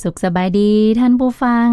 ສຸກສະບາຍດີທ່ານຜູ້ຟັງ,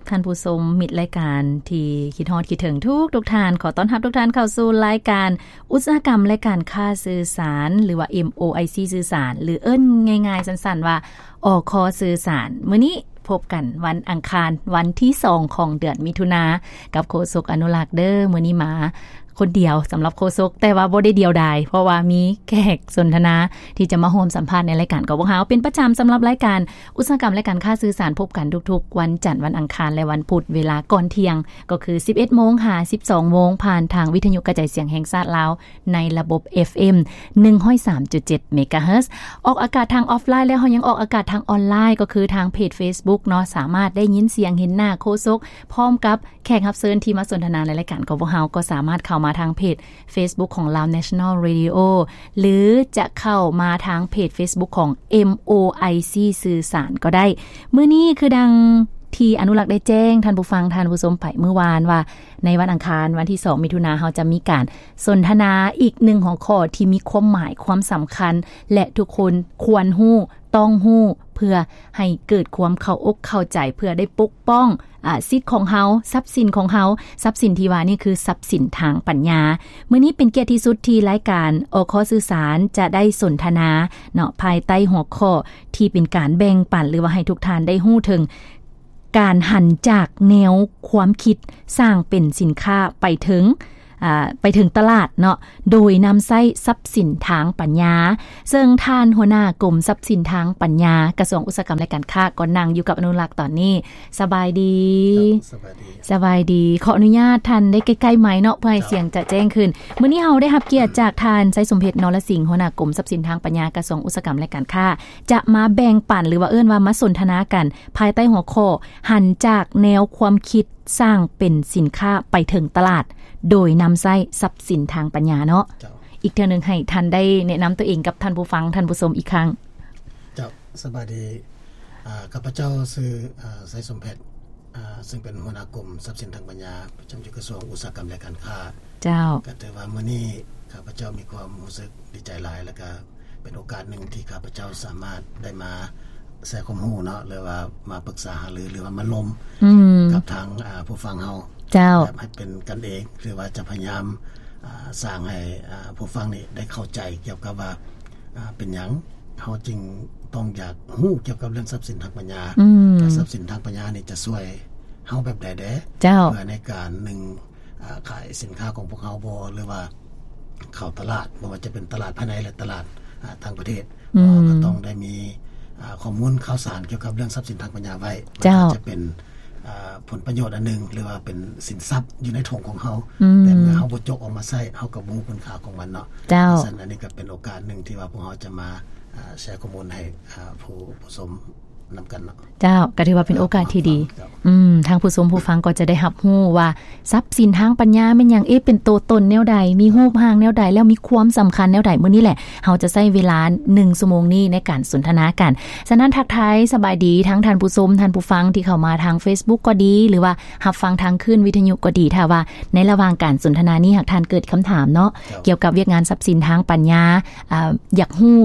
ທ່ານຜູ້ຊົມ, ມິດລາຍການທີ່ຄິດຮອດຄິດເຖິງທຸກໆທ່ານ. ຂໍຕ້ອນຮັບທຸກທ່ານເຂົ້າສູ່ລາຍການອຸດສາຫະກຳ ແລະ ການຄ້າສື່ສານ ຫຼືວ່າ ເອັມໂອໄອຊີ ສື່ສານ ຫຼືເອີ້ນງ່າຍໆສັ້ນໆວ່າ ອຄ ສື່ສານ. ມື້ນີ້ພົບກັນວັນອັງຄານ ວັນທີສອງຂອງເດືອນມິຖຸນາ ກັບໂຄສົກອະນຸລັກເດີ. ມື້ນີ້ມາ ຄົນດຽວສຳລັບໂຄສົກ, ແຕ່ວ່າບໍ່ໄດ້ດຽວດາຍ ເພາະວ່າມີແຂກສົນທະນາທີ່ຈະມາຮ່ວມສຳພາດໃນລາຍການຂອງພວກເຮົາເປັນປະຈຳ. ສຳລັບລາຍການອຸດສາຫະກຳ ແລະ ການຄ້າສື່ສານ ພົບກັນທຸກໆວັນຈັນ, ວັນອັງຄານ ແລະ ວັນພຸດ ເວລາກ່ອນທ່ຽງ ກໍຄືສິບເອັດໂມງຫາສິບສອງໂມງ ຜ່ານທາງວິທະຍຸກະຈາຍສຽງແຫ່ງຊາດລາວ ໃນລະບົບ ເອຟເອັມ ໜຶ່ງຮ້ອຍສາມຈຸດເຈັດ ເມກາເຮີດ. ອອກອາກາດທາງອອຟລາຍ ແລ້ວເຮົາຍັງອອກອາກາດທາງອອນລາຍ ກໍຄືທາງເພຈເຟສບຸກເນາະ, ສາມາດໄດ້ຍິນສຽງເຫັນໜ້າໂຄສົກ ພ້ອມກັບ ແຂກຮັບເຊີນທີ່ມາສົນທະນາໃນລາຍການຂອງພວກເຮົາ ກໍສາມາດເຂົ້າມາທາງເພຈເຟສບຸກຂອງ Lao National Radio ຫຼືຈະເຂົ້າມາທາງເພຈເຟສບຸກຂອງ ເອັມໂອໄອຊີ ສື່ສານກໍໄດ້. ມື້ນີ້ຄືດັ່ງທີ່ອະນຸລັກໄດ້ແຈ້ງທ່ານຜູ້ຟັງ, ທ່ານຜູ້ຊົມໄປມື້ວານວ່າ ໃນວັນອັງຄານ ວັນທີສອງ ມິຖຸນາ ເຮົາຈະມີການສົນທະນາອີກໜຶ່ງຫົວຂໍ້ທີ່ມີຄວາມໝາຍ, ຄວາມສຳຄັນ ແລະ ທຸກຄົນຄວນຮູ້, ຕ້ອງຮູ້ ເພື່ອໃຫ້ເກີດຄວາມເຂົ້າອົກເຂົ້າໃຈ, ເພື່ອໄດ້ປົກປ້ອງ ອາ ສິດຂອງເຮົາ, ຊັບສິນຂອງເຮົາ, ຊັບສິນທີ່ວ່ານີ້ຄືຊັບສິນທາງປັນຍາ. ມື້ນີ້ເປັນກຽດທີ່ສຸດທີ່ລາຍການ ອຄ ສື່ສານ ຈະໄດ້ສົນທະນາເນາະ ພາຍໃຕ້ຫົວຂໍ້ທີ່ເປັນການແບ່ງປັນ ຫຼືວ່າໃຫ້ທຸກທ່ານໄດ້ຮູ້ເຖິງການຫັນຈາກແນວຄວາມຄິດສ້າງເປັນສິນຄ້າໄປເຖິງ ອາ ໄປເຖິງຕະຫຼາດເນາະ ໂດຍນຳໃຊ້ຊັບສິນທາງປັນຍາ. ເຊິ່ງທ່ານຫົວໜ້າກົມຊັບສິນທາງປັນຍາ ກະຊວງອຸດສາຫະກຳ ແລະ ການຄ້າ ກໍນັ່ງຢູ່ກັບອະນຸລັກຕອນນີ້. ສະບາຍດີ. ເຈົ້າ ສະບາຍດີ. ສະບາຍດີ. ຂໍອະນຸຍາດທ່ານໄດ້ໃກ້ໆໄມເນາະ ເພື່ອໃຫ້ ເຈົ້າ ສຽງຈະແຈ້ງຂຶ້ນ. ມື້ນີ້ເຮົາໄດ້ຮັບກຽດຈາກທ່ານ ໄຊສົມເພັດ ນໍລະສິງ ຫົວໜ້າກົມຊັບສິນທາງປັນຍາ ກະຊວງອຸດສາຫະກຳ ແລະ ການຄ້າ ຈະມາແບ່ງປັນ ຫຼືວ່າເອີ້ນວ່າມາສົນທະນາກັນ ພາຍໃຕ້ຫົວຂໍ້ ຫັນຈາກແນວຄວາມຄິດສ້າງເປັນສິນຄ້າໄປເຖິງຕະຫຼາດ ໂດຍນຳໃຊ້ຊັບສິນທາງປັນຍາເນາະ. ເຈົ້າ. ອີກເທື່ອໜຶ່ງໃຫ້ທ່ານໄດ້ແນະນຳຕົວເອງກັບທ່ານຜູ້ຟັງ, ທ່ານຜູ້ຊົມອີກຄັ້ງ. ເຈົ້າ ສະບາຍດີ. ອາ ຂ້າພະເຈົ້າຊື່ ອາ ໄຊສົມເພັດ ອາ ເຊິ່ງເປັນຫົວໜ້າກົມຊັບສິນທາງປັນຍາ ປະຈຳຢູ່ກະຊວງອຸດສາຫະກຳ ແລະ ການຄ້າ. ເຈົ້າ. ກໍຖືວ່າມື້ນີ້ຂ້າພະເຈົ້າມີຄວາມຮູ້ສຶກດີໃຈຫຼາຍ ແລ້ວກໍເປັນໂອກາດໜຶ່ງທີ່ຂ້າພະເຈົ້າສາມາດໄດ້ມາແຊຄວາມຮູ້ເນາະ ຫຼືວ່າມາປຶກສາຫາລື ຫຼືວ່າມາລົມ ອືມ ກັບທາງ ອາ ຜູ້ຟັງເຮົາ. ເຈົ້າ. ແບບໃຫ້ເປັນກັນເອງ ຫຼືວ່າຈະພະຍາຍາມ ອາ ສ້າງໃຫ້ ອາ ຜູ້ຟັງນີ້ໄດ້ເຂົ້າໃຈກ່ຽວກັບວ່າ ອາ ເປັນຫຍັງເຮົາຈຶ່ງຕ້ອງຢາກຮູ້ກ່ຽວກັບເລື່ອງຊັບສິນທາງປັນຍາ ອືມ ແລະ ຊັບສິນທາງປັນຍານີ້ຈະຊ່ວຍເຮົາແບບໃດແດ່. ເຈົ້າ. ເພື່ອໃນການໜຶ່ງ ອາ ຂາຍສິນຄ້າຂອງພວກເຮົາບໍ່ ຫຼືວ່າເຂົ້າຕະຫຼາດ ບໍ່ວ່າຈະເປັນຕະຫຼາດພາຍໃນ ແລະ ຕະຫຼາດ ອາ ຕ່າງປະເທດ ອືມ ເຮົາກໍຕ້ອງໄດ້ມີ ອາ ຂໍ້ມູນຂ່າວສານກ່ຽວກັບເລື່ອງຊັບສິນທາງປັນຍາໄວ້. ເຈົ້າ. ມັນອາດຈະເປັນ ອາ ຜົນປະໂຫຍດອັນໜຶ່ງ ຫຼືວ່າເປັນສິນຊັບຢູ່ໃນຖົງຂອງເຮົາ ອືມ ແຕ່ເມື່ອເຮົາບໍ່ຈົກອອກມາໃຊ້ ເຮົາກໍບໍ່ຮູ້ຄຸນຄ່າຂອງມັນເນາະ. ເຈົ້າ. ສະນັ້ນ ອັນນີ້ກໍເປັນໂອກາດໜຶ່ງທີ່ວ່າພວກເຮົາຈະມາ ອາ ແຊຂໍ້ມູນໃຫ້ ອາ ຜູ້ ຜູ້ຊົມ ນຳກັນເນາະ. ເຈົ້າ. ກໍຖືວ່າເປັນໂອກາດທີ່ດີ. ເຈົ້າ. ອືມ ທາງຜູ້ຊົມຜູ້ຟັງກໍຈະໄດ້ຮັບຮູ້ວ່າຊັບສິນທາງປັນຍາແມ່ນຫຍັງ, ເອ ເປັນໂຕຕົນແນວໃດ, ມີຮູບຮ່າງແນວໃດ ແລ້ວມີຄວາມສຳຄັນແນວໃດ. ມື້ນີ້ແຫຼະ ເຮົາຈະໃຊ້ເວລາໜຶ່ງຊົ່ວໂມງນີ້ໃນການສົນທະນາກັນ. ສະນັ້ນ ທັກທາຍສະບາຍດີທັງທ່ານຜູ້ຊົມ, ທ່ານຜູ້ຟັງທີ່ເຂົ້າມາທາງເຟສບຸກກໍດີ ຫຼືວ່າຮັບຟັງທາງຄື້ນວິທະຍຸກໍດີ. ຖ້າວ່າໃນລະຫວ່າງການສົນທະນານີ້ ຫາກທ່ານເກີດຄຳຖາມເນາະ ເຈົ້າ ກ່ຽວກັບວຽກງານຊັບສິນທາງປັນຍາ, ອາ ຢາກຮູ້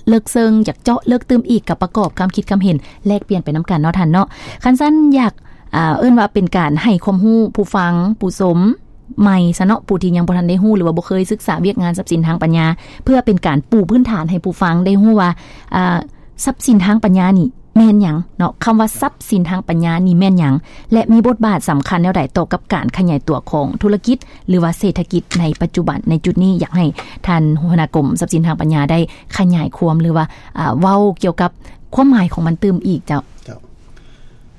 ເລິກເຊິ່ງ, ຢາກເຈາະເລິກຕື່ມອີກ, ກໍປະກອບຄຳຄິດຄຳເຫັນ ແລກປ່ຽນໄປນຳກັນເນາະທ່ານເນາະ. ຄັນຊັ້ນ ຢາກ ອາ ເອີ້ນວ່າເປັນການໃຫ້ຄວາມຮູ້ຜູ້ຟັງ, ຜູ້ຊົມໃໝ່ຊະເນາະ, ຜູ້ທີ່ຍັງບໍ່ທັນໄດ້ຮູ້ ຫຼືວ່າບໍ່ເຄີຍສຶກສາວຽກງານຊັບສິນທາງປັນຍາ, ເພື່ອເປັນການປູພື້ນຖານໃຫ້ຜູ້ຟັງໄດ້ຮູ້ວ່າ ອາ ຊັບສິນທາງປັນຍານີ້ແມ່ນຫຍັງເນາະ, ຄຳວ່າຊັບສິນທາງປັນຍານີ້ແມ່ນຫຍັງ ແລະ ມີບົດບາດສຳຄັນແນວໃດຕໍ່ກັບການຂະຫຍາຍຕົວຂອງທຸລະກິດ ຫຼືວ່າເສດຖະກິດໃນປັດຈຸບັນ. ໃນຈຸດນີ້ ຢາກໃຫ້ທ່ານຫົວໜ້າກົມຊັບສິນທາງປັນຍາໄດ້ຂະຫຍາຍຄວາມ ຫຼືວ່າ ອາ ເວົ້າກ່ຽວກັບຄວາມໝາຍຂອງມັນຕື່ມອີກ. ເຈົ້າ. ເຈົ້າ.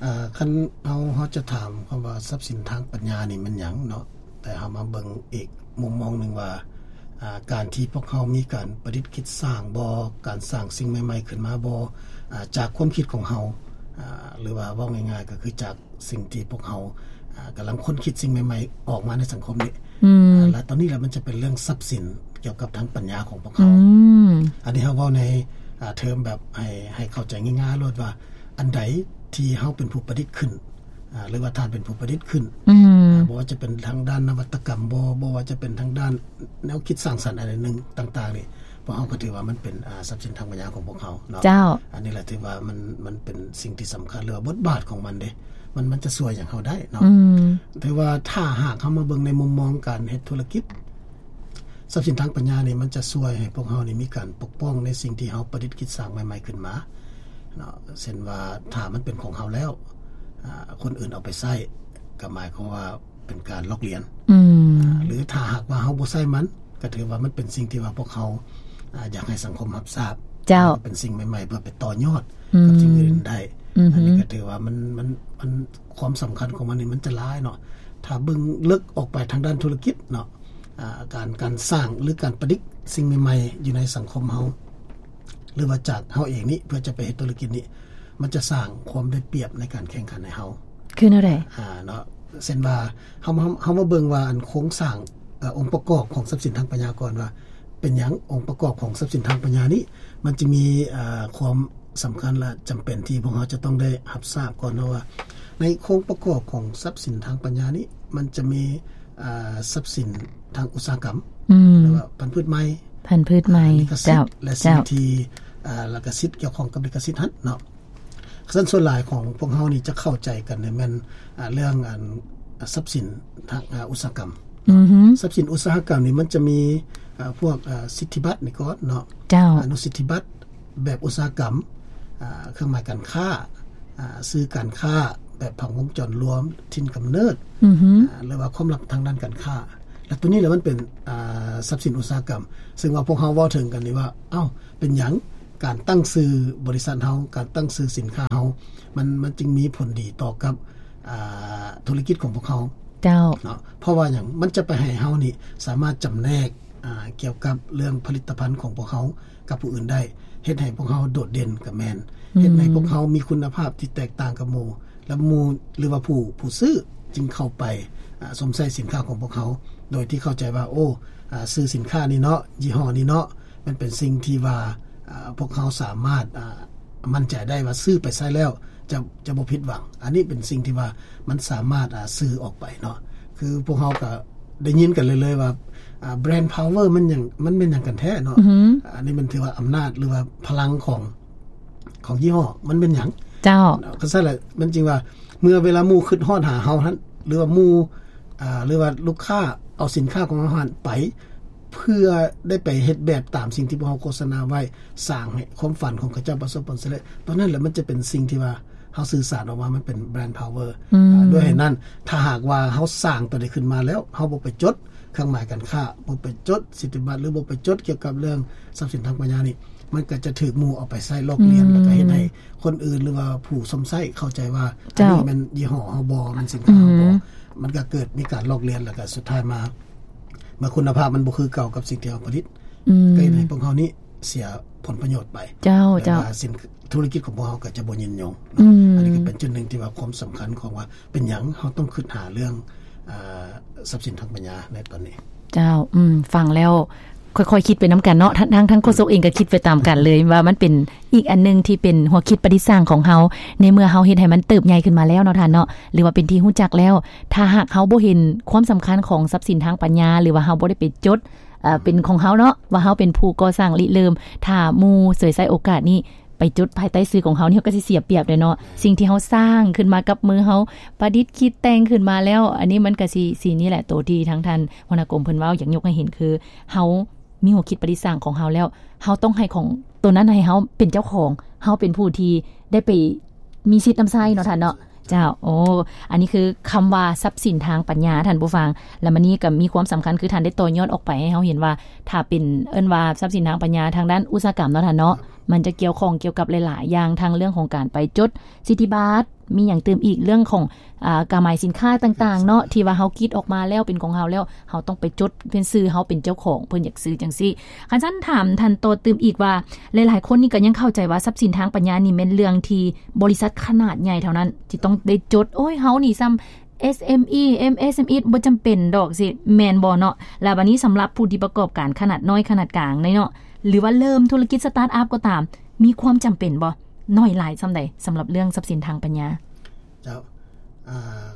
ອາ ຄັນເຮົາ ເຮົາຈະຖາມຄຳວ່າຊັບສິນທາງປັນຍານີ້ແມ່ນຫຍັງເນາະ, ແຕ່ເຮົາມາເບິ່ງອີກມຸມມອງໜຶ່ງວ່າ ອາ ການທີ່ພວກເຮົາມີການປະດິດຄິດສ້າງບໍ, ການສ້າງສິ່ງໃໝ່ໆຂຶ້ນມາບໍ, ອາ ຈາກຄວາມຄິດຂອງເຮົາ, ອາ ຫຼືວ່າເວົ້າງ່າຍໆກໍຄືຈາກ ສິ່ງທີ່ພວກເຮົາ ອາ ກຳລັງຄົ້ນຄິດສິ່ງໃໝ່ໆອອກມາໃນສັງຄົມນີ້ ອືມ ອາ ແລະ ຕອນນີ້ລະມັນຈະເປັນເລື່ອງຊັບສິນກ່ຽວກັບທາງປັນຍາຂອງພວກເຮົາ ອືມ ອັນນີ້ເຮົາເວົ້າໃນ ອາ ເທີມແບບໃຫ້ ໃຫ້ເຂົ້າໃຈງ່າຍໆໂລດວ່າ ອັນໃດທີ່ເຮົາເປັນຜູ້ປະດິດຂຶ້ນ ອາ ຫຼືວ່າທ່ານເປັນຜູ້ປະດິດຂຶ້ນ ອືມ ອາ ບໍ່ວ່າຈະເປັນທາງດ້ານນະວັດຕະກຳບໍ ບໍ່ວ່າຈະເປັນທາງດ້ານແນວຄິດສ້າງສັນອັນໃດໜຶ່ງຕ່າງໆນີ້ ພວກເຮົາກໍຖືວ່າມັນເປັນ ອ່າ ຊັບສິນທາງປັນຍາຂອງພວກເຮົາເນາະ. ເຈົ້າ. ອັນນີ້ແຫຼະຖືວ່າມັນ ມັນເປັນສິ່ງທີ່ສຳຄັນ ຫຼືວ່າບົດບາດຂອງມັນເດ້ ມັນ ມັນຈະຊ່ວຍຫຍັງເຮົາໄດ້ເນາະ. ອືມ. ຖືວ່າຖ້າຫາກເຮົາມາເບິ່ງໃນມຸມມອງການເຮັດທຸລະກິດ, ຊັບສິນທາງປັນຍານີ້ມັນຈະຊ່ວຍໃຫ້ພວກເຮົານີ້ມີການປົກປ້ອງໃນສິ່ງທີ່ເຮົາປະດິດຄິດສ້າງໃໝ່ໆຂຶ້ນມາເນາະ. ເຊັ່ນວ່າຖ້າມັນເປັນຂອງເຮົາແລ້ວ ອາ ຄົນອື່ນເອົາໄປໃຊ້ ກໍໝາຍຄວາມວ່າ ເປັນການລອກລຽນ ອືມ ຫຼືຖ້າຫາກວ່າເຮົາບໍ່ໃຊ້ມັນ ກໍຖືວ່າມັນເປັນສິ່ງທີ່ວ່າພວກເຮົາ ອາ ຢາກໃຫ້ສັງຄົມຮັບຊາບ. ເຈົ້າ. ເປັນສິ່ງໃໝ່ໆ ເພື່ອໄປຕໍ່ຍອດ ອືມ ກັບສິ່ງອື່ນໄດ້. ອືຮຶ. ອັນນີ້ກໍຖືວ່າມັນ ມັນ ມັນ ຄວາມສຳຄັນຂອງມັນນີ້ມັນຈະຫຼາຍເນາະ. ຖ້າເບິ່ງເລິກອອກໄປທາງດ້ານທຸລະກິດເນາະ ອາ ການ ການສ້າງ ຫຼືການປະດິດສິ່ງໃໝ່ໆຢູ່ໃນສັງຄົມເຮົາ ຫຼືວ່າຈາກເຮົາເອງນີ້ ເພື່ອຈະໄປເຮັດທຸລະກິດນີ້ ມັນຈະສ້າງຄວາມໄດ້ປຽບໃນການແຂ່ງຂັນໃຫ້ເຮົາ. ຄືແນວໃດ? ອາ ເນາະ ເຊັ່ນວ່າ ເຮົາ ເຮົາ ເຮົາມາເບິ່ງວ່າ ອັນໂຄງສ້າງ ເອີ ອົງປະກອບຂອງຊັບສິນທາງປັນຍາກ່ອນວ່າ ເປັນຫຍັງອົງປະກອບຂອງຊັບສິນທາງປັນຍານີ້ ມັນຈະມີ ເອີ ຄວາມສຳຄັນ ແລະ ຈຳເປັນທີ່ພວກເຮົາຈະຕ້ອງໄດ້ຮັບຊາບກ່ອນເນາະວ່າ ໃນໂຄງປະກອບຂອງຊັບສິນທາງປັນຍານີ້ ມັນຈະມີ ອາ ຊັບສິນທາງອຸດສາຫະກຳ ອືມ ຫຼືວ່າພັນພືດໃໝ່ ພັນພືດໃໝ່ ລິຂະສິດ ເຈົ້າ ແລະ ເຈົ້າ ສິ່ງທີ່ ອາ ລິຂະສິດ ກ່ຽວຂ້ອງກັບລິຂະສິດຫັ້ນເນາະ. ຊັ້ນສ່ວນຫຼາຍຂອງພວກເຮົານີ້ຈະເຂົ້າໃຈກັນແມ່ນ ອາ ເລື່ອງ ອັນ ຊັບສິນທາງ ອາ ອຸດສາຫະກຳເນາະ. ອືຮຶ. ຊັບສິນອຸດສາຫະກຳນີ້ມັນຈະມີ ອາ ພວກ ອາ ສິດທິບັດນີ້ກ່ອນເນາະ. ເຈົ້າ. ອະນຸສິດທິບັດ ແບບອຸດສາຫະກຳ ອາ ເຄື່ອງໝາຍການຄ້າ ອາ ສື່ການຄ້າແບບຜັງວົງຈອນລວມ ຖິ່ນກຳເນີດ ອືຮຶ ອາ ຫຼືວ່າຄວາມລັບທາງດ້ານການຄ້າ ແລະ ໂຕນີ້ແຫຼະມັນເປັນ ອາ ຊັບສິນອຸດສາຫະກຳ ເຊິ່ງວ່າພວກເຮົາເວົ້າເຖິງກັນນີ້ວ່າ ເອົ້າ ເປັນຫຍັງການຕັ້ງຊື່ບໍລິສັດເຮົາ ການຕັ້ງຊື່ສິນຄ້າເຮົາ ມັນ ມັນຈຶ່ງມີຜົນດີຕໍ່ກັບ ອາ ທຸລະກິດຂອງພວກເຮົາ. ເຈົ້າ. ເນາະ ເພາະວ່າຫຍັງ? ມັນຈະໄປໃຫ້ເຮົານີ້ສາມາດຈຳແນກ ອາ ກ່ຽວກັບເລື່ອງຜະລິດຕະພັນຂອງພວກເຮົາ ກັບຜູ້ອື່ນໄດ້ ເຮັດໃຫ້ພວກເຮົາໂດດເດັ່ນກໍແມ່ນ ອືມ ເຮັດໃຫ້ພວກເຮົາມີຄຸນນະພາບທີ່ແຕກຕ່າງກັບໝູ່ ແລະ ໝູ່ ຫຼືວ່າຜູ້ ຜູ້ຊື້ຈຶ່ງເຂົ້າໄປ ອາ ຊົມໃຊ້ສິນຄ້າຂອງພວກເຮົາ ໂດຍທີ່ເຂົ້າໃຈວ່າ ໂອ້ ອາ ຊື່ສິນຄ້ານີ້ເນາະ ຍີ່ຫໍ້ນີ້ເນາະ ມັນເປັນສິ່ງທີ່ວ່າ ອາ ພວກເຮົາສາມາດ ອາ ໝັ້ນໃຈໄດ້ວ່າຊື້ໄປໃຊ້ແລ້ວຈະ ຈະບໍ່ຜິດຫວັງ. ອັນນີ້ເປັນສິ່ງທີ່ວ່າມັນສາມາດ ອາ ສື່ອອກໄປເນາະ ຄືພວກເຮົາກໍ ໄດ້ຍິນກັນເລື້ອຍໆວ່າ ອ່າ brand power ມັນຫຍັງ ມັນແມ່ນຫຍັງກັນແທ້ເນາະ ອືຮຶ ອັນນີ້ມັນຖືວ່າອຳນາດ ຫຼືວ່າພະລັງຂອງ ຂອງຍີ່ຫໍ້ ມັນແມ່ນຫຍັງ? ເຈົ້າ. ເນາະ ຄັນຊັ້ນລະ ມັນຈຶ່ງວ່າ ເມື່ອເວລາໝູ່ຄິດຮອດຫາເຮົາຫັ້ນ ຫຼືວ່າໝູ່ ອ່າ ຫຼືວ່າລູກຄ້າເອົາສິນຄ້າຂອງເຮົາຫັ້ນໄປ ເພື່ອໄດ້ໄປເຮັດແບບຕາມສິ່ງທີ່ພວກເຮົາໂຄສະນາໄວ້ ສ້າງໃຫ້ຄວາມຝັນຂອງເຂົາເຈົ້າປະສົບຜົນສຳເລັດ ຕອນນັ້ນແຫຼະ ມັນຈະເປັນສິ່ງທີ່ວ່າ ເຮົາສື່ສານອອກມາ ມັນເປັນ brand power ອືມ ອາ ດ້ວຍເຫດນັ້ນ ຖ້າຫາກວ່າເຮົາສ້າງຕົວນີ້ຂຶ້ນມາແລ້ວ ເຮົາບໍ່ໄປຈົດເຄື່ອງໝາຍການຄ້າ ບໍ່ໄປຈົດສິດທິບັດ ຫຼືບໍ່ໄປຈົດກ່ຽວກັບເລື່ອງຊັບສິນທາງປັນຍານີ້ ມັນກໍຈະຖືກໝູ່ເອົາໄປໃຊ້ລອກລຽນ ອືມ ແລ້ວກໍເຮັດໃຫ້ຄົນອື່ນ ຫຼືວ່າຜູ້ຊົມໃຊ້ເຂົ້າໃຈວ່າ ເຈົ້າ ອັນນີ້ແມ່ນຍີ່ຫໍ້ເຮົາບໍ່ ແມ່ນສິນຄ້າເຮົາບໍ່ ອືມ ມັນກໍເກີດມີການລອກລຽນ ແລ້ວກໍສຸດທ້າຍມາ ເມື່ອຄຸນນະພາບມັນບໍ່ຄືເກົ່າກັບສິ່ງທີ່ເຮົາຜະລິດ ອືມ ກໍເຮັດໃຫ້ພວກເຮົານີ້ເສຍຜົນປະໂຫຍດໄປ ເຈົ້າ ເຈົ້າ ແລ້ວກໍສິນ ທຸລະກິດຂອງພວກເຮົາກໍຈະບໍ່ຍືນຍົງເນາະ ອືມ ອັນນີ້ກໍເປັນຈຸດໜຶ່ງທີ່ວ່າຄວາມສຳຄັນຂອງວ່າເປັນຫຍັງເຮົາຕ້ອງຄິດຫາເລື່ອງ ອາ ຊັບສິນທາງປັນຍາໃນຕອນນີ້. ເຈົ້າ ອືມ ຟັງແລ້ວຄ່ອຍໆຄິດໄປນຳກັນເນາະ ທັງ ທັງ ທັງໂຄສົກເອງກໍຄິດໄປຕາມກັນເລີຍ ວ່າມັນເປັນອີກອັນໜຶ່ງທີ່ເປັນຫົວຄິດປະດິດສ້າງຂອງເຮົາ ໃນເມື່ອເຮົາເຮັດໃຫ້ມັນເຕີບໃຫຍ່ຂຶ້ນມາແລ້ວເນາະທ່ານເນາະ ຫຼືວ່າເປັນທີ່ຮູ້ຈັກແລ້ວ ຖ້າຫາກເຮົາບໍ່ເຫັນຄວາມສຳຄັນຂອງຊັບສິນທາງປັນຍາ ຫຼືວ່າເຮົາບໍ່ໄດ້ໄປຈົດ ເອີ ເປັນຂອງເຮົາເນາະ ວ່າເຮົາເປັນຜູ້ກໍ່ສ້າງລິເລີ່ມ ຖ້າໝູ່ສວຍໃຊ້ໂອກາດນີ້ໄປຈົດພາຍໃຕ້ຊື່ຂອງເຮົານີ້ ເຮົາກໍຊິເສຍປຽບເດ້ເນາະ ສິ່ງທີ່ເຮົາສ້າງຂຶ້ນມາກັບມືເຮົາ ປະດິດຄິດແຕ່ງຂຶ້ນມາແລ້ວ ອັນນີ້ມັນກໍຊິ ຊິນີ້ແຫຼະ ໂຕທີ່ທາງທ່ານຫົວໜ້າກົມເພິ່ນເວົ້າ ຢາກຍົກໃຫ້ເຫັນຄື ເຮົາມີຫົວຄິດປະດິດສ້າງຂອງເຮົາແລ້ວ ເຮົາຕ້ອງໃຫ້ຂອງໂຕນັ້ນໃຫ້ເຮົາເປັນເຈົ້າຂອງ ເຮົາເປັນຜູ້ທີ່ໄດ້ໄປມີສິດນຳໃຊ້ເນາະທ່ານເນາະ. ເຈົ້າ ໂອ້ ອັນນີ້ຄືຄຳວ່າຊັບສິນທາງປັນຍາທ່ານຜູ້ຟັງ ແລ້ວມານີ້ກໍມີຄວາມສຳຄັນ ຄືທ່ານໄດ້ຕໍ່ຍອດອອກໄປໃຫ້ເຮົາເຫັນວ່າ ຖ້າເປັນ ເອີ້ນວ່າຊັບສິນທາງປັນຍາທາງດ້ານອຸດສາຫະກຳເນາະທ່ານເນາະ ມັນຈະກ່ຽວຂ້ອງກ່ຽວກັບຫຼາຍໆຢ່າງ ທັງເລື່ອງຂອງການໄປຈົດສິດທິບັດ ມີຫຍັງຕື່ມອີກ ເລື່ອງຂອງ ອາ ກາໝາຍສິນຄ້າຕ່າງໆເນາະ ທີ່ວ່າເຮົາຄິດອອກມາແລ້ວເປັນຂອງເຮົາແລ້ວ ເຮົາຕ້ອງໄປຈົດເປັນຊື່ເຮົາເປັນເຈົ້າຂອງ ເພິ່ນຢາກຊື້ຈັ່ງຊີ້. ຄັນຊັ້ນຖາມທ່ານຕໍ່ຕື່ມອີກວ່າ ຫຼາຍໆຄົນນີ້ກໍຍັງເຂົ້າໃຈວ່າຊັບສິນທາງປັນຍານີ້ແມ່ນເລື່ອງທີ່ບໍລິສັດຂະໜາດໃຫຍ່ເທົ່ານັ້ນທີ່ຕ້ອງໄດ້ຈົດ ໂອ້ຍ ເຮົານີ້ຊ່ຳ ເອັສເອັມອີ ເອັມເອັສເອັມອີ ບໍ່ຈຳເປັນດອກ ຊິແມ່ນບໍ່ເນາະ? ແລ້ວບາດນີ້ສຳລັບຜູ້ທີ່ປະກອບການຂະໜາດນ້ອຍ ຂະໜາດກາງເນາະ ຫຼືວ່າເລີ່ມທຸລະກິດສະຕາດອັບກໍຕາມ ມີຄວາມຈຳເປັນບໍ່? ໜ້ອຍຫຼາຍຊ່ຳໃດ ສຳລັບເລື່ອງຊັບສິນທາງປັນຍາ? ເຈົ້າ ອາ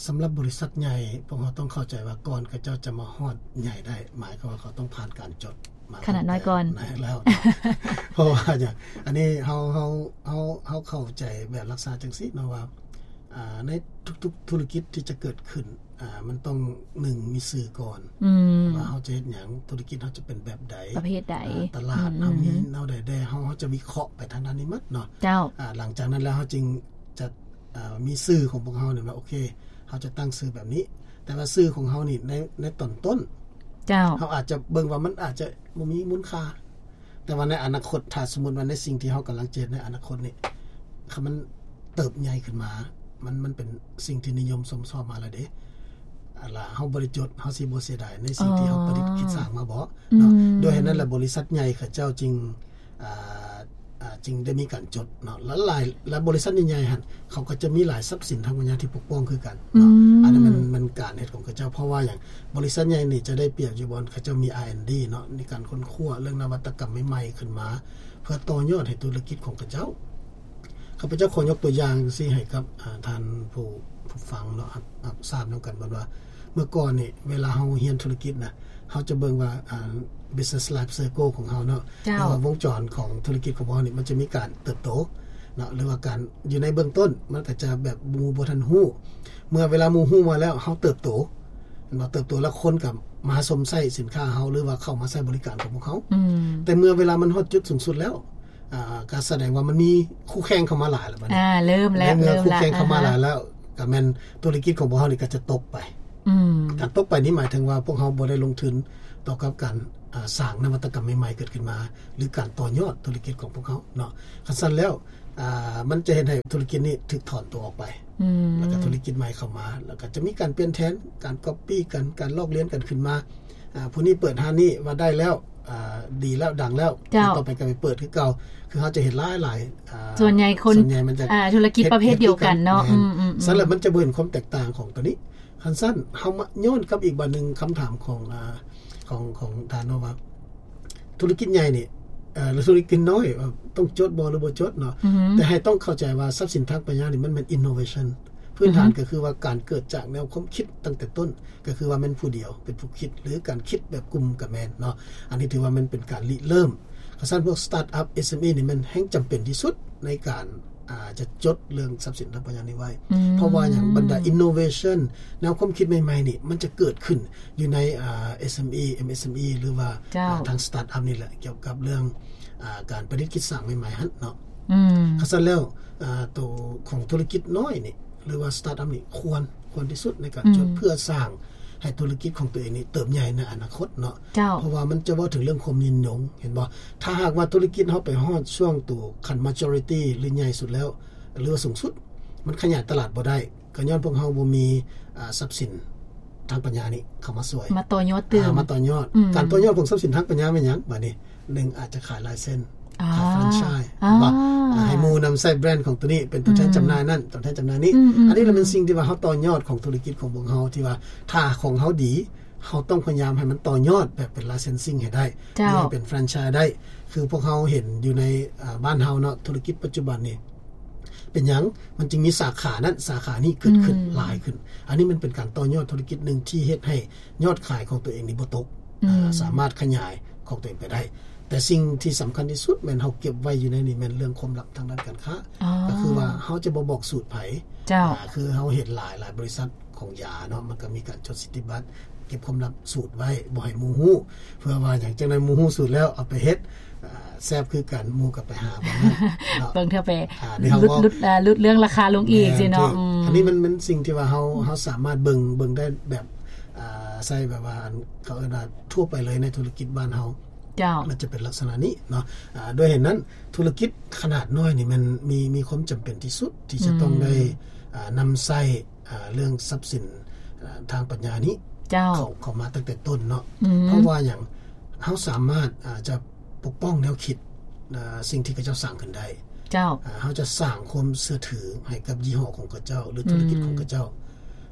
ສຳລັບບໍລິສັດໃຫຍ່ ພວກເຮົາຕ້ອງເຂົ້າໃຈວ່າ ກ່ອນເຂົາເຈົ້າຈະມາຮອດໃຫຍ່ໄດ້ ໝາຍຄວາມວ່າເຂົາຕ້ອງຜ່ານການຈົດ ຂະໜາດນ້ອຍກ່ອນ ແມ່ນແລ້ວ ເພາະວ່າຫຍັງ ອັນນີ້ເຮົາ ເຮົາ ເຮົາ ເຮົາເຂົ້າໃຈແບບລັກສະນະຈັ່ງຊີ້ເນາະວ່າ ອ່າ ໃນທຸກໆທຸລະກິດທີ່ຈະເກີດຂຶ້ນ ອ່າ ມັນຕ້ອງ ໜຶ່ງ ມີຊື່ກ່ອນ ອືມ ວ່າເຮົາຈະເຮັດຫຍັງ ທຸລະກິດເຮົາຈະເປັນແບບໃດ ປະເພດໃດ ອ່າ ຕະຫຼາດ ອືມ ເຮົາມີແນວໃດແດ່ ເຮົາ ເຮົາຈະວິເຄາະໄປທາງດ້ານນີ້ໝົດເນາະ ເຈົ້າ ອ່າ ຫຼັງຈາກນັ້ນແລ້ວເຮົາຈຶ່ງຈະ ອ່າ ມີຊື່ຂອງພວກເຮົານີ້ວ່າ ໂອເຄ ເຮົາຈະຕັ້ງຊື່ແບບນີ້ ແຕ່ວ່າຊື່ຂອງເຮົານີ້ ໃນ ໃນຕອນຕົ້ນ ເຈົ້າ ເຮົາອາດຈະເບິ່ງວ່າມັນອາດຈະບໍ່ມີມູນຄ່າ ແຕ່ວ່າໃນອະນາຄົດ ຖ້າສົມມຸດວ່າໃນສິ່ງທີ່ເຮົາກຳລັງຈະເຮັດໃນອະນາຄົດນີ້ ຄັນມັນເຕີບໃຫຍ່ຂຶ້ນມາ ມັນ ມັນເປັນສິ່ງທີ່ນິຍົມຊົມຊອບມາແລ້ວເດ້ ອັນລະເຮົາບໍ່ໄດ້ຈົດ ເຮົາຊິບໍ່ເສຍດາຍໃນສິ່ງທີ່ເຮົາປະດິດຄິດສ້າງມາບໍ ເນາະ ອືມ ໂດຍເຫດນັ້ນລະ ບໍລິສັດໃຫຍ່ເຂົາເຈົ້າຈຶ່ງ ອ່າ ອ່າ ຈຶ່ງໄດ້ມີການຈົດເນາະ ແລະ ຫຼາຍ ແລະ ບໍລິສັດໃຫຍ່ໆຫັ້ນ ເຂົາກໍຈະມີຫຼາຍຊັບສິນທາງປັນຍາທີ່ປົກປ້ອງຄືກັນເນາະ ອືມ ອັນນັ້ນແມ່ນ ແມ່ນການເຮັດຂອງເຂົາເຈົ້າ ເພາະວ່າຫຍັງ ບໍລິສັດໃຫຍ່ນີ້ຈະໄດ້ປຽບຢູ່ບ່ອນເຂົາເຈົ້າມີ R and D ເນາະ ໃນການຄົ້ນຄວ້າເລື່ອງນະວັດຕະກຳໃໝ່ໆຂຶ້ນມາ ເພື່ອຕໍ່ຍອດໃຫ້ທຸລະກິດຂອງເຂົາເຈົ້າ. ຂ້າພະເຈົ້າຂໍຍົກຕົວຢ່າງຊີ້ໃຫ້ກັບ ອ່າ ທ່ານຜູ້ ຜູ້ຟັງເນາະ ຮັບ ຮັບຊາບນຳກັນວ່າ ເມື່ອກ່ອນນີ້ ເວລາເຮົາຮຽນທຸລະກິດນະ ເຮົາຈະເບິ່ງວ່າ ອ່າ business life cycle ຂອງເຮົາເນາະ ເຈົ້າ ຫຼືວ່າວົງຈອນຂອງທຸລະກິດຂອງພວກເຮົານີ້ ມັນຈະມີການເຕີບໂຕເນາະ ຫຼືວ່າການຢູ່ໃນເບື້ອງຕົ້ນ ມັນກໍຈະແບບໝູ່ບໍ່ທັນຮູ້ ເມື່ອເວລາໝູ່ຮູ້ມາແລ້ວ ເຮົາເຕີບໂຕ ແມ່ນບໍ່ ເຕີບໂຕແລ້ວຄົນກໍມາຊົມໃຊ້ສິນຄ້າເຮົາ ຫຼືວ່າເຂົ້າມາໃຊ້ບໍລິການຂອງພວກເຮົາ ອືມ ແຕ່ເມື່ອເວລາມັນຮອດຈຸດສູງສຸດແລ້ວ ອ່າ ກໍສະແດງວ່າມັນມີຄູ່ແຂ່ງເຂົ້າມາຫຼາຍແລ້ວບັດນີ້ ອ່າ ເລີ່ມແລ້ວ ໃນເມື່ອຄູ່ແຂ່ງເຂົ້າມາຫຼາຍແລ້ວ ກໍແມ່ນທຸລະກິດຂອງພວກເຮົານີ້ກໍຈະຕົກໄປ ອືມ ການຕົກໄປນີ້ໝາຍເຖິງວ່າພວກເຮົາບໍ່ໄດ້ລົງທຶນຕໍ່ກັບການ ອ່າ ສ້າງນະວັດຕະກຳໃໝ່ໆເກີດຂຶ້ນມາ ຫຼື ການຕໍ່ຍອດທຸລະກິດຂອງພວກເຮົາເນາະ ຄັນຊັ້ນແລ້ວ ອ່າ ມັນຈະເຮັດໃຫ້ທຸລະກິດນີ້ຖືກຖອນຕົວອອກໄປ ອືມ ແລ້ວກໍທຸລະກິດໃໝ່ເຂົ້າມາ ແລ້ວກໍຈະມີການປ່ຽນແທນ ການກັອບປີ້ກັນ ການລອກລຽນກັນຂຶ້ນມາ ອ່າ ຜູ້ນີ້ເປີດຮ້ານນີ້ວ່າໄດ້ແລ້ວ ອ່າ ດີແລ້ວ ດັງແລ້ວ ເຈົ້າ ຕໍ່ໄປກໍໄປເປີດຄືເກົ່າ ຄືເຮົາຈະເຫັນຫຼາຍໆ ອ່າ ສ່ວນໃຫຍ່ຄົນ ສ່ວນໃຫຍ່ມັນຈະ ອ່າ ທຸລະກິດປະເພດດຽວກັນເນາະ ເຮັດຄືກັນ ອືມໆໆ ຊັ້ນແລ້ວມັນຈະບໍ່ເຫັນຄວາມແຕກຕ່າງຂອງຕົວນີ້ ຄັນຊັ້ນເຮົາມາຍ້ອນກັບອີກບາດໜຶ່ງ ຄຳຖາມຂອງ ອ່າ ຂອງ ຂອງທ່ານເນາະວ່າ ທຸລະກິດໃຫຍ່ນີ້ ເອີ ຫຼື ທຸລະກິດນ້ອຍ ເອີ ຕ້ອງຈົດບໍ່ ຫຼື ບໍ່ຈົດເນາະ ອືຮຶ ແຕ່ໃຫ້ຕ້ອງເຂົ້າໃຈວ່າຊັບສິນທາງປັນຍານີ້ມັນແມ່ນ innovation ພື້ນຖານ ອືຮຶ ກໍຄືວ່າການເກີດຈາກແນວຄວາມຄິດຕັ້ງແຕ່ຕົ້ນ ກໍຄືວ່າແມ່ນຜູ້ດຽວເປັນຜູ້ຄິດ ຫຼື ການຄິດແບບກຸ່ມກໍແມ່ນເນາະ ອັນນີ້ຖືວ່າມັນເປັນການລິເລີ່ມ ຄັນຊັ້ນພວກ startup SME ນີ້ແມ່ນແຮ່ງຈຳເປັນທີ່ສຸດໃນການ ອ່າ ຈະຈົດເລື່ອງຊັບສິນທາງປັນຍານີ້ໄວ້ ອືມ ເພາະວ່າຫຍັງ ບັນດາ innovation ແນວຄວາມຄິດໃໝ່ໆນີ້ ມັນຈະເກີດຂຶ້ນຢູ່ໃນ ອ່າ SME MSME ຫຼືວ່າ ເຈົ້າ ອ່າ ທາງ startup ນີ້ແຫຼະ ກ່ຽວກັບເລື່ອງ ອ່າ ການປະດິດຄິດສ້າງໃໝ່ໆຫັ້ນເນາະ ອືມ ຄັນຊັ້ນແລ້ວ ອ່າ ໂຕຂອງທຸລະກິດນ້ອຍນີ້ ຫຼືວ່າ startup ນີ້ ຄວນ ຄວນທີ່ສຸດໃນການຈົດ ອືມ ເພື່ອສ້າງ ໃຫ້ທຸລະກິດຂອງຕົວເອງນີ້ເຕີບໃຫຍ່ໃນອະນາຄົດເນາະ ເຈົ້າ ເພາະວ່າມັນຈະເວົ້າເຖິງເລື່ອງຄວາມຍືນຍົງ ເຫັນບໍ່ ຖ້າຫາກວ່າທຸລະກິດເຮົາໄປຮອດຊ່ວງໂຕຂັ້ນ maturity ຫຼື ໃຫຍ່ສຸດແລ້ວ ຫຼືວ່າສູງສຸດ ມັນຂະຫຍາຍຕະຫຼາດບໍ່ໄດ້ ກໍຍ້ອນພວກເຮົາບໍ່ມີ ອ່າ ຊັບສິນທາງປັນຍານີ້ເຂົ້າມາຊ່ວຍ ມາຕໍ່ຍອດຕື່ມ ອ່າ ມາຕໍ່ຍອດ ອືມ ການຕໍ່ຍອດຂອງຊັບສິນທາງປັນຍາແມ່ນຫຍັງ? ບາດນີ້ ໜຶ່ງ ອາດຈະຂາຍລາຍເຊັນ ອ່າ ຂາຍແຟຣນໄຊ ອ່າ ເຫັນບໍ່? ອ່າ ໃຫ້ໝູ່ນຳໃຊ້ແບຣນຂອງຕົວນີ້ເປັນຕົວແທນ ອືມ ຈຳໜ່າຍນັ້ນ ຕົວແທນຈຳໜ່າຍນີ້ ອືມໆໆ ອັນນີ້ລະແມ່ນສິ່ງທີ່ວ່າເຮົາຕໍ່ຍອດຂອງທຸລະກິດຂອງພວກເຮົາ ທີ່ວ່າຖ້າຂອງເຮົາດີ ເຮົາຕ້ອງພະຍາຍາມໃຫ້ມັນຕໍ່ຍອດແບບເປັນ licensing ໃຫ້ໄດ້ ເຈົ້າ ໃຫ້ເປັນແຟຣນໄຊໄດ້ ຄືພວກເຮົາເຫັນຢູ່ໃນ ອ່າ ບ້ານເຮົາເນາະ ທຸລະກິດປັດຈຸບັນນີ້ ເປັນຫຍັງມັນຈຶ່ງມີສາຂານັ້ນສາຂານີ້ເກີດຂຶ້ນ ອືມ ຫຼາຍຂຶ້ນ ອັນນີ້ມັນເປັນການຕໍ່ຍອດທຸລະກິດໜຶ່ງທີ່ເຮັດໃຫ້ຍອດຂາຍຂອງຕົວເອງນີ້ບໍ່ຕົກ ອືມ ອ່າ ສາມາດຂະຫຍາຍຂອງຕົວເອງໄປໄດ້ ແຕ່ສິ່ງທີ່ສຳຄັນທີ່ສຸດແມ່ນເຮົາເກັບໄວ້ຢູ່ໃນນີ້ແມ່ນເລື່ອງຄວາມລັບທາງດ້ານການຄ້າ ອໍ ກໍຄືວ່າເຮົາຈະບໍ່ບອກສູດໃຜ ເຈົ້າ ອ່າ ຄືເຮົາເຫັນຫຼາຍ ຫຼາຍບໍລິສັດຂອງຢາເນາະ ມັນກໍມີການຈົດສິດທິບັດ ເກັບຄວາມລັບສູດໄວ້ ບໍ່ໃຫ້ໝູ່ຮູ້ ເພື່ອວ່າຫຍັງ ຈັ່ງໃດໝູ່ຮູ້ສູດແລ້ວເອົາໄປເຮັດ ອ່າ ແຊບຄືກັນ ໝູ່ກໍໄປຫາບ່ອນນັ້ນເນາະ ເບິ່ງເທື່ອໄປ ອ່າ ຫຼຸດ ຫຼຸດ ອ່າ ຫຼຸດເລື່ອງລາຄາລົງອີກ ແມ່ນ ຊີ້ເນາະ ອືມ ອັນນີ້ມັນ ມັນສິ່ງທີ່ວ່າເຮົາ ເຮົາສາມາດເບິ່ງ ເບິ່ງໄດ້ແບບ ອ່າ ໃຊ້ແບບວ່າ ອັນ ເຂົາເອີ້ນວ່າທົ່ວໄປເລີຍໃນທຸລະກິດບ້ານເຮົາ ເຈົ້າ ມັນຈະເປັນລັກສະນະນີ້ເນາະ ອ່າ ດ້ວຍເຫດນັ້ນ ທຸລະກິດຂະໜາດນ້ອຍນີ້ແມ່ນມີ ມີຄວາມຈຳເປັນທີ່ສຸດທີ່ຈະຕ້ອງ ອືມ ໄດ້ ອ່າ ນຳໃຊ້ ອ່າ ເລື່ອງຊັບສິນ ອ່າ ທາງປັນຍານີ້ ເຈົ້າ ເຂົ້າ ເຂົ້າມາຕັ້ງແຕ່ຕົ້ນເນາະ ອືມ ເພາະວ່າຫຍັງ ເຮົາສາມາດ ອ່າ ຈະປົກປ້ອງແນວຄິດ ອ່າ ສິ່ງທີ່ເຂົາເຈົ້າສ້າງຂຶ້ນໄດ້ ເຈົ້າ ອ່າ ເຮົາຈະສ້າງຄວາມເຊື່ອຖືໃຫ້ກັບຍີ່ຫໍ້ຂອງເຂົາເຈົ້າ ຫຼື ທຸລະກິດຂອງເຂົາເຈົ້າ ອືມ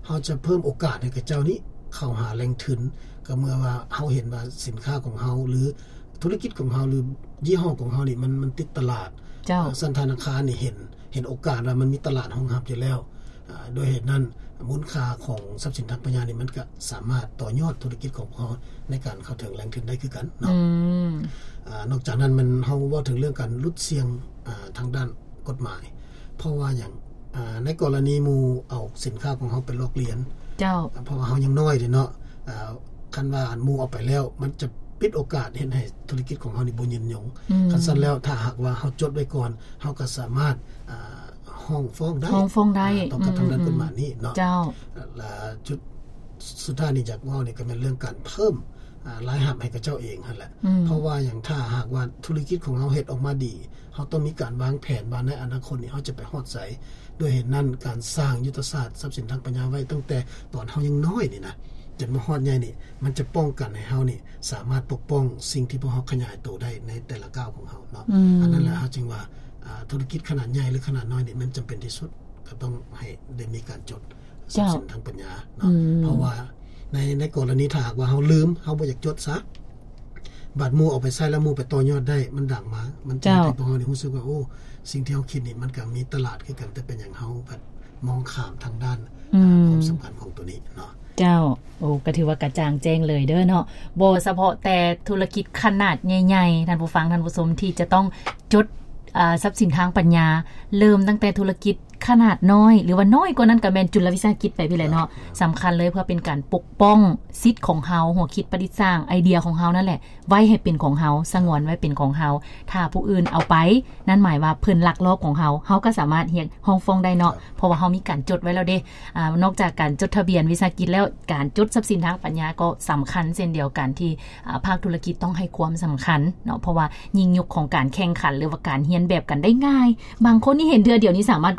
ເຮົາຈະເພີ່ມໂອກາດໃຫ້ເຂົາເຈົ້ານີ້ເຂົ້າຫາແຫຼ່ງທຶນ ກໍເມື່ອວ່າເຮົາເຫັນວ່າສິນຄ້າຂອງເຮົາ ຫຼື ທຸລະກິດຂອງເຮົາ ຫຼື ຍີ່ຫໍ້ຂອງເຮົານີ້ ມັນ ມັນຕິດຕະຫຼາດ ເຈົ້າ ເອີ ຊັ້ນທະນາຄານນີ້ເຫັນ ເຫັນໂອກາດວ່າມັນມີຕະຫຼາດຮອງຮັບຢູ່ແລ້ວ ອາ ດ້ວຍເຫດນັ້ນ ມູນຄ່າຂອງຊັບສິນທາງປັນຍານີ້ ມັນກະສາມາດຕໍ່ຍອດທຸລະກິດຂອງພວກເຮົາ ໃນການເຂົ້າເຖິງແຫຼ່ງທຶນໄດ້ຄືກັນເນາະ. ອືມ ອາ ນອກຈາກນັ້ນ ແມ່ນເຮົາເວົ້າເຖິງເລື່ອງການຫຼຸດສ່ຽງ ອາ ທາງດ້ານກົດໝາຍ ເພາະວ່າຫຍັງ? ອາ ໃນກໍລະນີໝູ່ເອົາສິນຄ້າຂອງເຮົາໄປລອກລຽນ ເຈົ້າ ອາ ເພາະວ່າເຮົາຍັງນ້ອຍເດ້ເນາະ. ອາ ຄັນວ່າໝູ່ເອົາໄປແລ້ວ ມັນຈະປິດໂອກາດເຮັດໃຫ້ທຸລະກິດຂອງເຮົານີ້ບໍ່ຍືນຍົງ. ອືມ ຄັນຊັ້ນແລ້ວ ຖ້າຫາກວ່າເຮົາຈົດໄວ້ກ່ອນ ເຮົາກໍສາມາດ ອາ ຮ້ອງຟ້ອງໄດ້ ຮ້ອງຟ້ອງໄດ້ ອາ ຕໍ່ກັບ ອືມ ທາງດ້ານ ອືມ ກົດໝາຍນີ້ເນາະ. ເຈົ້າ ແລະ ຈຸດສຸດທ້າຍນີ້ຢາກເວົ້ານີ້ກໍແມ່ນເລື່ອງການເພີ່ມ ອາ ລາຍຮັບໃຫ້ຂະເຈົ້າເອງຫັ້ນແຫຼະ. ອືມ ເພາະວ່າຫຍັງ? ຖ້າຫາກວ່າທຸລະກິດຂອງເຮົາເຮັດອອກມາດີ ເຮົາຕ້ອງມີການວາງແຜນວ່າໃນອະນາຄົດນີ້ເຮົາຈະໄປຮອດໃສ. ດ້ວຍເຫດນັ້ນ ການສ້າງຍຸດທະສາດຊັບສິນທາງປັນຍາໄວ້ຕັ້ງແຕ່ຕອນເຮົາຍັງນ້ອຍນີ້ນະ ຈົນມາຮອດໃຫຍ່ນີ້ ມັນຈະປ້ອງກັນໃຫ້ເຮົານີ້ສາມາດປົກປ້ອງສິ່ງທີ່ພວກເຮົາຂະຫຍາຍໂຕໄດ້ໃນແຕ່ລະກ້າວຂອງເຮົາເນາະ. ອືມ ອັນນັ້ນແຫຼະ ເຮົາຈຶ່ງວ່າ ອາ ທຸລະກິດຂະໜາດໃຫຍ່ ຫຼື ຂະໜາດນ້ອຍນີ້ ມັນຈຳເປັນທີ່ສຸດ ກໍຕ້ອງໃຫ້ໄດ້ມີການຈົດ ເຈົ້າ ຊັບສິນທາງປັນຍາເນາະ. ອືມ ເພາະວ່າໃນ ໃນກໍລະນີຖ້າຫາກວ່າເຮົາລືມ ເຮົາບໍ່ຢາກຈົດຊະ ບາດໝູ່ເອົາໄປໃຊ້ແລ້ວ ໝູ່ໄປຕໍ່ຍອດໄດ້ ມັນດັງມາ ມັນຈະເຮັດໃຫ້ ເຈົ້າ ພວກເຮົານີ້ຮູ້ສຶກວ່າ ໂອ້ ສິ່ງທີ່ເຮົາຄິດນີ້ ມັນກໍມີຕະຫຼາດຄືກັນ ແຕ່ເປັນຫຍັງເຮົາບັດມອງຂ້າມທາງດ້ານ ອືມ ຄວາມສຳຄັນຂອງໂຕນີ້ເນາະ. ເຈົ້າ ໂອ້ ກໍຖືວ່າກະຈ່າງແຈ້ງເລີຍເດີເນາະ. ບໍ່ສະເພາະແຕ່ທຸລະກິດຂະໜາດໃຫຍ່ໆ ທ່ານຜູ້ຟັງ ທ່ານຜູ້ຊົມ ທີ່ຈະຕ້ອງຈົດ ອາ ຊັບສິນທາງປັນຍາ ເລີ່ມຕັ້ງແຕ່ທຸລະກິດຂະໜາດນ້ອຍ ຫຼືວ່ານ້ອຍກວ່ານັ້ນກໍແມ່ນຈຸລະວິສາຫະກິດໄປພີ້ແຫຼະເນາະ. ເຈົ້າ ສຳຄັນເລີຍເພື່ອເປັນການປົກປ້ອງສິດຂອງເຮົາ ຫົວຄິດປະດິດສ້າງ ໄອເດຍຂອງເຮົານັ້ນແຫຼະ ໄວ້ໃຫ້ເປັນຂອງເຮົາ ສະຫງວນໄວ້ເປັນຂອງເຮົາ. ຖ້າຜູ້ອື່ນເອົາໄປ ນັ້ນໝາຍວ່າເພິ່ນລັກລອບຂອງເຮົາ ເຮົາກໍສາມາດຮຽກຮ້ອງຟ້ອງໄດ້ເນາະ. ເຈົ້າ ເພາະວ່າເຮົາມີການຈົດໄວ້ແລ້ວເດ້. ອາ ນອກຈາກການຈົດທະບຽນວິສາຫະກິດແລ້ວ ການຈົດຊັບສິນທາງປັນຍາກໍສຳຄັນເຊັ່ນດຽວກັນ ທີ່ ອາ ພາກທຸລະກິດຕ້ອງໃຫ້ຄວາມສຳຄັນເນາະ ເພາະວ່າຍິ່ງຍຸກຂອງການແຂ່ງຂັນ ຫຼືວ່າການຮຽນແບບກັນໄດ້ງ່າຍ ບາງຄົນນີ້ເຫັນເທື່ອດຽວນີ້ສາມາດ copy